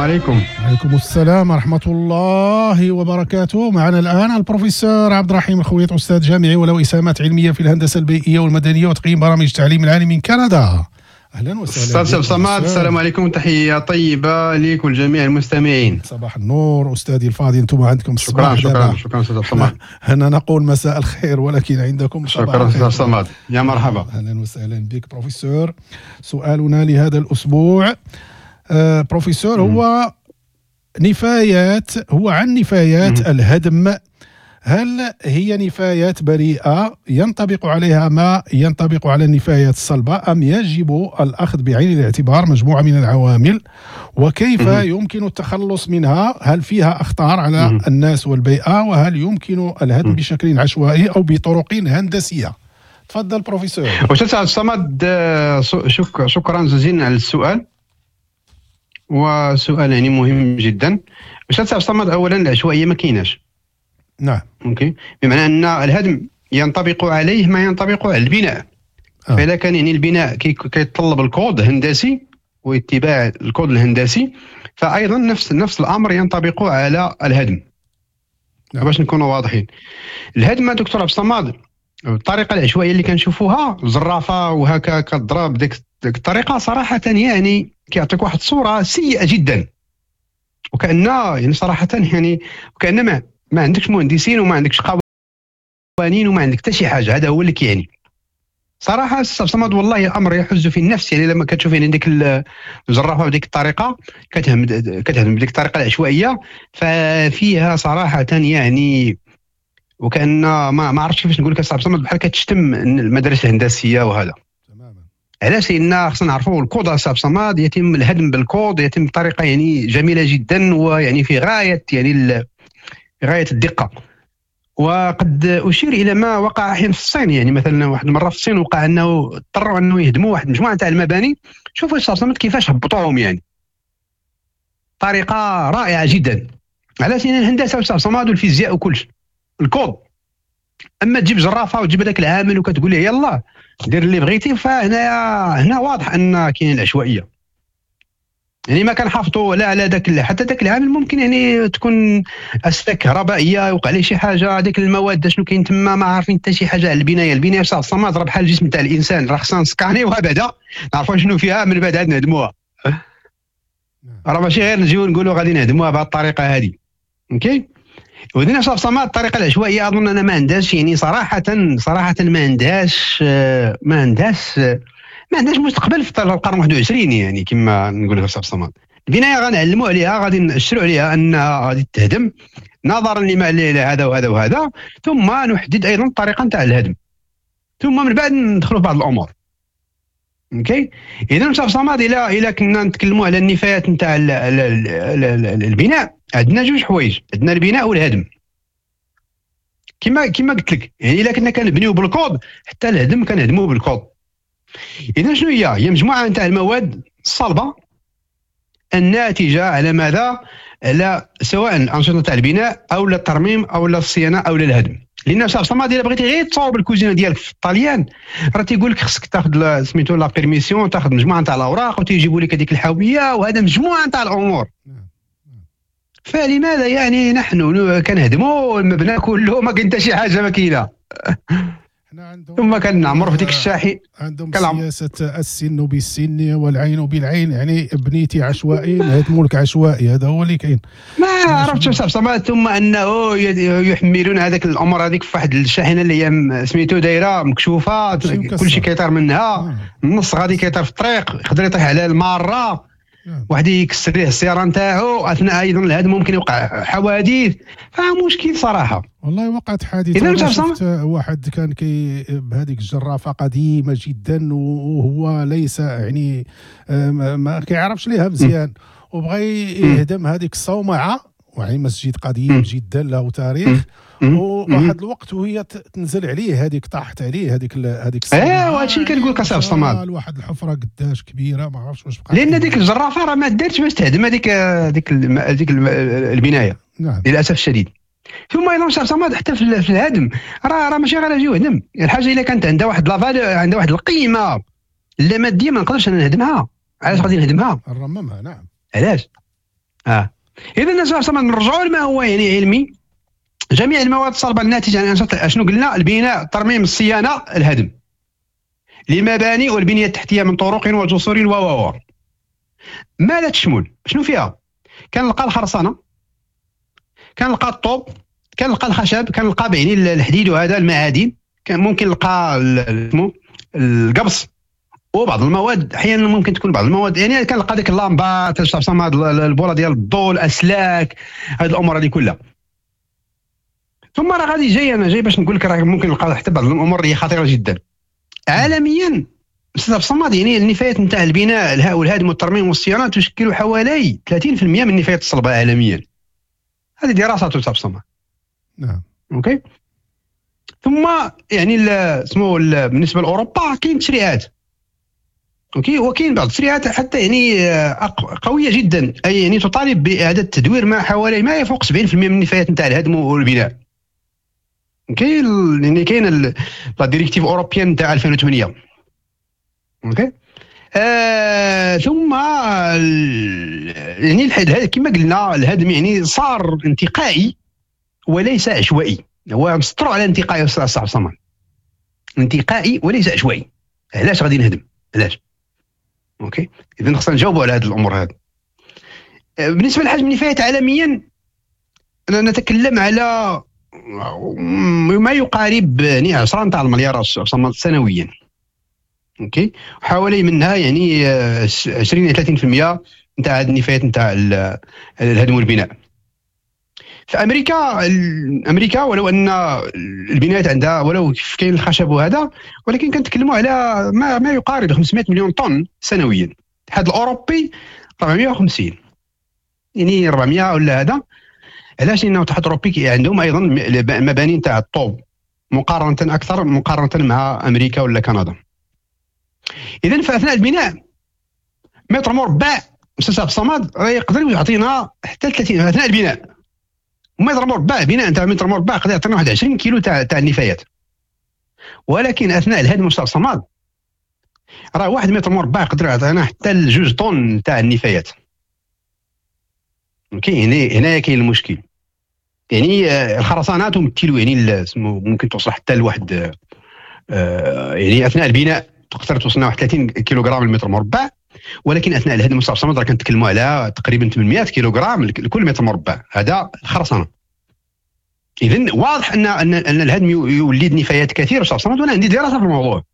عليكم. عليكم السلام ورحمة الله وبركاته. معنا الآن البروفيسور عبد الرحيم الخويط، أستاذ جامعي وله إسهامات علمية في الهندسة البيئية والمدنية وتقييم برامج التعليم العالي من كندا. أهلا وسهلا. أستاذ صمد، السلام عليكم، تحية طيبة لك ولجميع المستمعين. صباح النور أستاذي الفاضل، أنتم عندكم الصباح. شكرا شكرا شكرا أستاذ صمد. هنا نقول مساء الخير ولكن عندكم صباح. شكرا أستاذ صمد، يا مرحبا. أهلا وسهلا بك بروفيسور. سؤالنا لهذا الأسبوع بروفيسور هو نفايات، هو عن نفايات الهدم. هل هي نفايات بريئة ينطبق عليها ما ينطبق على النفايات الصلبة، أم يجب الأخذ بعين الاعتبار مجموعة من العوامل، وكيف يمكن التخلص منها؟ هل فيها أخطار على الناس والبيئة، وهل يمكن الهدم بشكل عشوائي أو بطرق هندسية؟ تفضل بروفيسور. أستاذ عبد الصمد، شكرا جزيلا على السؤال، وسؤال يعني مهم جدا. أستاذ عبد الصمد، أولا العشوائية ما كايناش. نعم. OK، بمعنى ان الهدم ينطبق عليه ما ينطبق على البناء. فإذا كان يعني البناء كيتطلب الكود الهندسي واتباع الكود الهندسي، فايضا نفس الامر ينطبق على الهدم. نعم. باش نكونوا واضحين، الهدم دكتور عبد الصمد الطريقة العشوائية اللي كنشوفوها الزرافه وهكا كضرب ديك الطريقة، صراحة يعني كيعطيك واحد الصورة سيئه جدا، وكأن يعني صراحة يعني وكأن ما عندكش مهندسين وما عندكش قوانين وما عندك حتى شي حاجة. هذا هو اللي كيعني صراحة السي صمد، والله الامر يحز في النفس. يعني لما كتشوف يعني ديك الجرافه بديك الطريقة كتهدم بديك الطريقة العشوائية، ففيها صراحة يعني وكأن ما عرفتش كيفاش نقول لك السي صمد، بحال كتشتم المدارس الهندسية وهذا. تماما. علاش؟ لان خصنا نعرفوا الكود السي صمد، يتم الهدم بالكود، يتم بطريقة يعني جميلة جدا، ويعني في غاية يعني غاية الدقة. وقد أشير إلى ما وقع حين في الصين. يعني مثلا واحد المرة في الصين وقع أنه اضطروا أنه يهدموا واحد المجموعة تاع المباني. شوفوا السي كيفاش هبطوهم، يعني طريقة رائعة جدا. علاش؟ لأن الهندسة والسي صمد والفيزياء وكلش الكود. أما تجيب جرافة وتجيب هذاك العامل وكتقول له يلا دير اللي بغيتي، فهنا هنا واضح أن كاين العشوائية. يعني ما كنحافظوا لا على داك، حتى داك العامل ممكن يعني تكون اسلاك كهربائية يوقع عليه شي حاجة، ديك المواد شنو كاين تما ما عارفين حتى شي حاجة على البناية. البناية في الصمد راه بحال الجسم تاع الانسان، راه خصنا نسكانيوها بعدا نعرفوا شنو فيها، من بعد عاد نهدموها. راه ماشي غير نجيو نقولوا غادي نهدموها بهذه الطريقة هذه. OK، ودينا في الصمد الطريقة العشوائية اظن انا ما عندهاش يعني صراحة ما عندهاش ما عندهاش مستقبل في القرن 21. يعني كما نقول لك في الصمد، البناية غنعلموا عليها، غادي نأشروا عليها انها غادي تهدم نظرا لما لهذا وهذا وهذا، ثم نحدد ايضا الطريقة نتاع الهدم، ثم من بعد ندخلوا في بعض الامور. OK، اذا في الصمد الى كنا نتكلموا على النفايات نتاع البناء، عندنا جوج حوايج، عندنا البناء والهدم. كما قلت لك، يعني الا كنا كنبنيو بالكود حتى الهدم كنهدموه بالكود. إذا شنو هي؟ هي مجموعة نتاع المواد الصلبة الناتجة على ماذا؟ على سواء الأنشطة تاع البناء أو لا الترميم أو لا الصيانة أو لا الهدم. لأن صاحب الصمد إلا بغيتي غير تصاوب الكوزينة ديالك في الطاليان، راه تيقول لك خصك تاخذ سميتو la permission، تاخذ مجموعة نتاع الأوراق وتيجيبوا لك هذيك الحاوية، وهذا مجموعة نتاع الأمور. فلماذا يعني نحن كنهدموا المبنى كله ما كاين حتى شي حاجة ما كاينة؟ ثم كنعمر في ديك الشاحي. عندهم سياسة السن بالسن والعين بالعين، يعني بنيتي عشوائي نهدموا لك عشوائي، هذا هو اللي كاين. ما عرفتش صاحب صمد. ثم انه يحملون هذاك الامر هذيك في واحد الشاحنة اللي هي سميتو دايرة مكشوفة، كلشي كيطير منها، النص غادي كيطير في الطريق، يقدر يطيح على المارة، واحد يكسر ليه السيارة نتاعو. اثناء ايضا الهدم ممكن يوقع حوادث، فمشكل صراحة. والله وقعت حادثه، شفت واحد كان كي بهذيك الجرافه قديمة جدا، وهو ليس يعني ما كيعرفش ليها مزيان، وبغى يهدم هذيك الصومعه، يعني مسجد قديم جدا له تاريخ، وواحد الوقت وهي تنزل عليه هذيك، طاحت عليه هذيك ايوا هادشي اللي كنقول لك اصاحبي الصمد، واحد الحفرة قداش كبيرة ما عرفتش واش بقى، لان ديك الجرافه راه ما دارتش باش تهدم هذيك البناية. نعم. للاسف الشديد. ثم ايضا صاحب الصمد حتى في الهدم راه ماشي غير اجي وهدم الحاجة، الا كانت عندها واحد la valeur، عندها واحد القيمة لا مادية، ما نقدرش انا نهدمها. علاش غادي نهدمها؟ نرممها. نعم. علاش؟ اذا الناس نرجعوا لما هو يعني علمي. جميع المواد الصلبة الناتجة عن انشطة اشنو قلنا؟ البناء، الترميم، الصيانة، الهدم لمباني والبنية التحتية من طرق وجسور و ما لا تشمل. شنو فيها؟ كنلقى الخرسانه، كنلقى الطوب، كنلقى الخشب، كنلقى يعني الحديد وهذا المعادن، كان ممكن نلقى القبص وبعض المواد، احيانا ممكن تكون بعض المواد يعني كنلقى ديك اللامبات، البوله ديال الضوء، الاسلاك، هذه الامور هذه كلها. ثم راه غادي جاي، انا جاي باش نقول لك راه ممكن نلقى حتى بعض الامور اللي خطيرة جدا عالميا. استاذ الصمد، يعني النفايات نتاع البناء والهدم والترميم والصيانه تشكل حوالي 30% من النفايات الصلبة عالميا. هذه دراسة استاذ الصمد. نعم. OK. ثم يعني اسمه بالنسبة لاوروبا كاين تشريعات، OK، وكاين بعض التشريعات حتى يعني قوية جدا، اي يعني تطالب باعادة تدوير ما حوالي ما يفوق 70% من النفايات نتاع الهدم والبناء. كاين يعني كاين la directive européenne تاع 2008. OK. ثم يعني كما قلنا الهدم يعني صار انتقائي وليس عشوائي. هو مسطروا على انتقائي استاذ صاحب صمان، انتقائي وليس عشوائي. علاش غادي نهدم؟ علاش؟ OK. اذا خصنا نجاوبوا على هذه الامور هذه. بالنسبة لحجم النفايات عالميا نتكلم على ما يقارب يعني 10 تاع المليار سنويا. OK، حوالي منها يعني 20 الى 30% نتاع هذه النفايات نتاع الهدم والبناء. في امريكا ولو ان البنايات عندها ولو كاين الخشب وهذا، ولكن كنتكلموا على ما يقارب 500 مليون طن سنويا. الاتحاد الاوروبي 450، يعني 400 ولا هذا. علاش؟ لانه الاتحاد الاوروبي عندهم ايضا مباني نتاع الطوب مقارنة اكثر مقارنة مع امريكا ولا كندا. اذا فاثناء البناء متر مربع استاذ الصمد يقدر يعطينا حتى 30 اثناء البناء. متر مربع بناء تاع متر مربع يقدر يعطينا واحد 20 كيلو تاع النفايات. ولكن اثناء الهدم استاذ الصمد راه واحد متر مربع يقدر يعطينا حتى 2 طن تاع النفايات. كاين هنايا كاين المشكل. يعني الخرسانات تمثل يعني ممكن توصل حتى لواحد يعني اثناء البناء تقدر توصلنا واحد 30 كيلوغرام المتر مربع، ولكن اثناء الهدم استاذ الصمد راه كنتكلموا على تقريبا 800 كيلوغرام لكل متر مربع. هذا الخرسانه. اذا واضح ان ان الهدم يولد نفايات كثيرة استاذ الصمد، وانا عندي دراسة في الموضوع،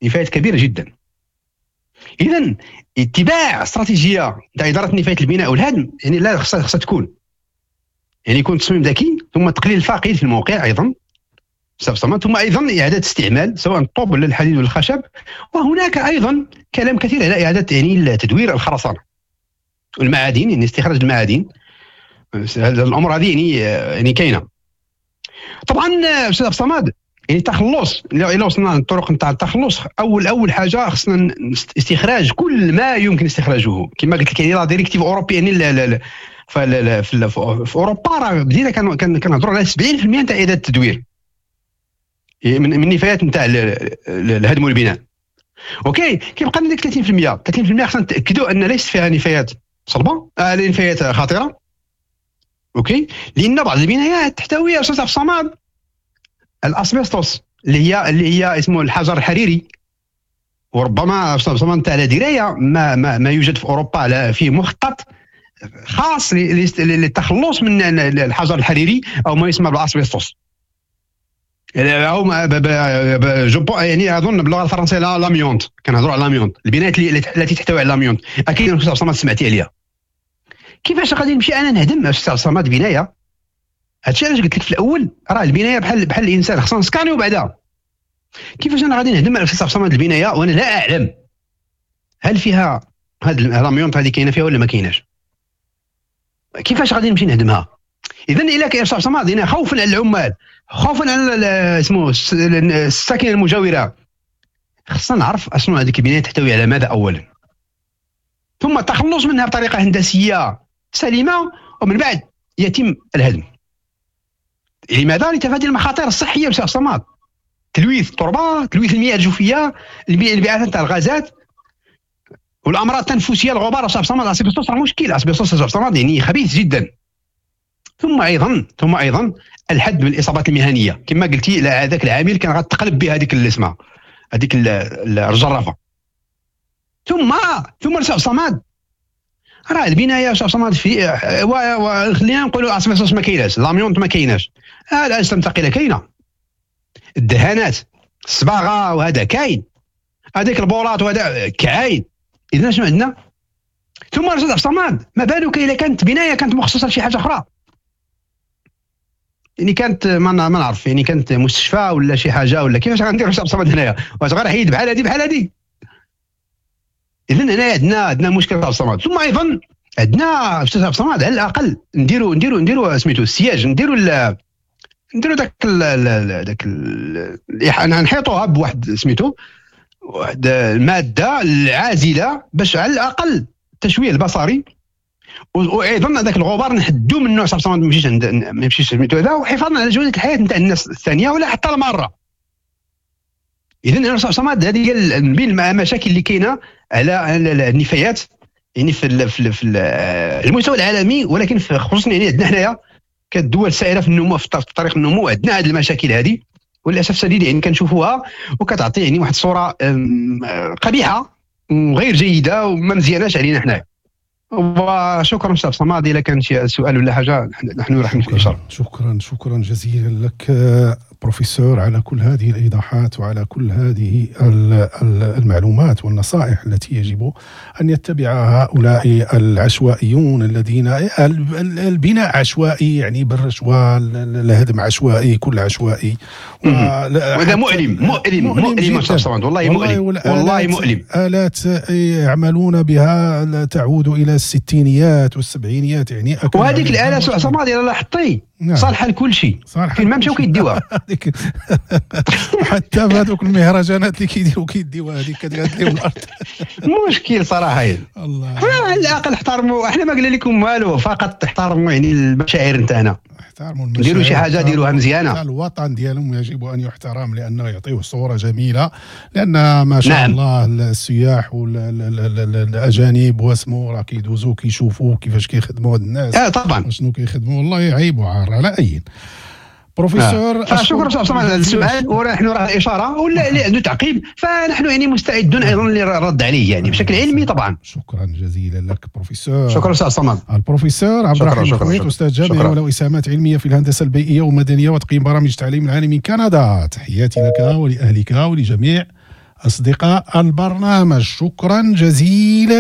نفايات كبيرة جدا. اذا اتباع استراتيجية تاع ادارة نفايات البناء والهدم يعني لا خصها تكون، يعني يكون تصميم ذكي، ثم تقليل الفاقد في الموقع ايضا، ثم ايضا اعاده استعمال سواء الطوب ولا الحديد ولا الخشب. وهناك ايضا كلام كثير على اعاده يعني تدوير الخرسانه والمعادن، يعني استخراج المعادن. هذا الامر هذه يعني كاينه. طبعا استاذ الصمد يعني التخلص، الا وصلنا للطرق نتاع التخلص، اول حاجة خصنا استخراج كل ما يمكن استخراجه. كما قلت لك يعني la directive européenne يعني في اوروبا راه بدينا كنهضروا على 70% نتاع اعاده التدوير من النفايات نتاع الهدم والبناء. OK، كيبقى لنا ديك 30%. 30% خصنا نتاكدوا ان ليست فيها نفايات صلبه، نفايات خطيرة. OK، لان بعض البنايات تحتوي استاذ عبد الصمد الاسبستوس اللي هي اسمه الحجر الحريري، وربما استاذ عبد الصمد على دراية ما, ما ما يوجد في اوروبا على فيه مخطط خاص للتخلص من الحجر الحريري او ما يسمى بالاسبستوس، او يعني اظن باللغة الفرنسية l'amiante. كنهضروا على l'amiante، البنايات التي تحتوي على l'amiante. اكيد استاذ عبد الصمد سمعتي عليها. كيفاش غادي نمشي انا نهدم استاذ عبد الصمد بناية؟ هادشي علاش قلت لك في الاول راه البناية بحال الانسان، خصنا نسكانيو بعدا. كيفاش انا غادي نهدم استاذ عبد الصمد البناية وانا لا اعلم هل فيها هاد l'amiante هذه كاينه فيها ولا ما كايناش؟ كيفاش غادي نمشي نهدمها؟ اذا الا كاين استاذ عبد الصمد خوفا على العمال، خوفا على اسمه الساكنة المجاورة، خصنا نعرف اشنو هذيك البناية تحتوي على ماذا اولا، ثم التخلص منها بطريقة هندسية سليمة، ومن بعد يتم الهدم. لماذا؟ لتفادي المخاطر الصحية بسبب الصماد، تلويث التربة، تلويث المياه الجوفيه، الانبعاثات تاع الغازات. والامراض التنفسيه، الغبار صاحب صمد، asbestos راه مشكل، asbestos صاحب صمد يعني خبيث جدا. ثم ايضا الحد من الاصابات المهنيه، كما قلتي هذاك العامل كان غتقلب به هذيك اللي اسمها هذيك الجرافه. ثم صاحب صمد، راه البناية صاحب صمد في خلينا نقولوا asbestos ما كايناش، l'amiante ما كايناش، الاجسام الثقيلة كاينه، الدهانات، الصباغه وهذا كاين، هذيك البولات وهذا كاين. اذا شنو عندنا؟ ثم راه صمد، ما بالك اذا كانت بناية كانت مخصصة لشي حاجة اخرى، يعني كانت ما نعرف، يعني كانت مستشفى ولا شي حاجة ولا كيفاش غنديروا صاحب صمد هنايا؟ واش غير حيد بحال هذه بحال هذه؟ اذا هنا عندنا مشكل صاحب صمد. ثم ايضا عندنا استاذ عبد الصمد، على الاقل نديروا سميتو ال siège، نديروا ذاك نحيطوها بواحد سميتو واحد المادة العازله باش على الاقل التشويه البصري، وايضا هذاك الغبار نحدوا منه صاحب صمد، ما يمشيش سميتو هذا، وحفاظا على جوده الحياة نتاع الناس الثانية ولا حتى الماره. اذا انا صاحب صمد، هذه هي من بين المشاكل اللي كاينه على النفايات، يعني في المستوى العالمي، ولكن خصوصا يعني عندنا حنايا كدول سائرة في النمو، في طريق النمو، عندنا هذه المشاكل هذه، وللاسف الشديد يعني كنشوفوها وكتعطي يعني واحد الصورة قبيحة وغير جيدة وما مزياناش علينا حنايا. وشكرا استاذ صماد، اذا كان شي سؤال ولا حاجة نحن رهن الاشاره. شكرا، شكرا جزيلا لك بروفيسور على كل هذه الايضاحات وعلى كل هذه المعلومات والنصائح التي يجب ان يتبعها هؤلاء العشوائيون الذين البناء عشوائي، يعني بالرشوه، الهدم عشوائي، كل عشوائي. وهذا مؤلم مؤلم مؤلم مؤلم، والله مؤلم، والله مؤلم. آلات يعملون بها تعود الى الستينيات والسبعينيات يعني. وهذيك الاله صماد الا لاحظتي صالحه لكل شيء، فين ما مشاو كيديوها. حتى في هذوك المهرجانات اللي كيديروا كيديوها، هذيك كتقعد لهم الارض. مشكل صراحه. الله. على الاقل احترموا، احنا ما قلنا لكم والو، فقط احترموا يعني المشاعر نتاعنا. احترموا. ديروا شي حاجة ديروها مزيانه. الوطن ديالهم يجب ان يحترم لانه يعطيه صوره جميله، لان ما شاء الله السياح والاجانب واسمو راه كيدوزوا كيشوفوا كيفاش كيخدموا هاد الناس. اه طبعا. شنو كيخدموا، والله عيب وعار. على اي، بروفيسور. فشكرا استاذ على السؤال، ونحن رهن الاشاره، ولا اللي عنده تعقيب فنحن يعني مستعدون ايضا للرد عليه، يعني بشكل علمي طبعا. شكرا جزيلا لك بروفيسور. شكرا استاذ صمد. البروفيسور عبد الرحيم خويط، استاذ جامعي وله اسهامات علمية في الهندسة البيئية والمدنية وتقييم برامج التعليم العالي من كندا. تحياتي لك ولاهلك ولجميع اصدقاء البرنامج، شكرا جزيلا.